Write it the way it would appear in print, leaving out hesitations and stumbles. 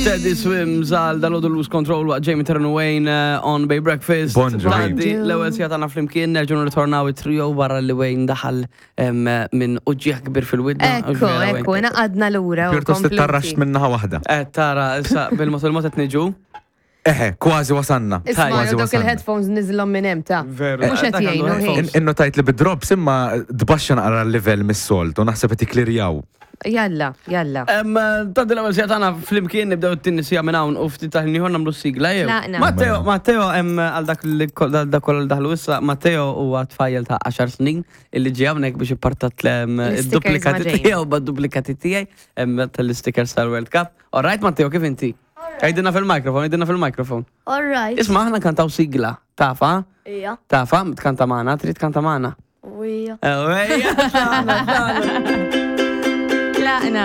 Teddy Swims għal dal-għodu Lose Control waqt Jamie Terran Wayne eh, on Bay Breakfast. Bonġu. Għaddi l-ewwel sija tagħna flimkien nerġgħu nirritornaw it-trio barra li Wayne daħal em, minn uġġieħ kbir fil-widna. Ekku, ekku, naqadna lura. u Pjuttost kompluti. tittarraxt minnaħa waħda. Eh, tara, issa bil-mod il-mod qed niġu. Eħe, kważi wasanna. Isma' Kważi dawk wasanna. il-headphones niżlhom minn hemm ta' Veru. Mhux qed Dak għandu jgħinu headphones. ħin. In- Innu tajt li bid-drops imma tbaxxa naqra l-level mis-solt u naħseb qed jiklirjaw. Jalla, jalla. Em, Ta' l-ewwel sija tagħna flimkien nibdew it-tieni sija minn hawn u ftit ta' ħin ieħor nagħmlu s-sigla jew. Tlaqna. Matteo, Matteo hemm għal dak li ko- dal- dak kollha li daħlu issa, Matteo huwa tfajjel ta' 10 snin illi ġie hawnhekk biex ippartat l- L-stickers id-duplikati ma' Jamie. tiegħu bad-duplikati tiegħi em, tal-stickers tal-World Cup. All right, Matteo, kif inti? Għidilna fil-mikrofon, għidilna fil-mikrofon. All right. Isma' aħna kantaw sigla, tafa? Ija. Tafa, tkanta magħna, trid tkanta magħna. Ija. Ejja, tlaqna, tlaqna. Tlaqna.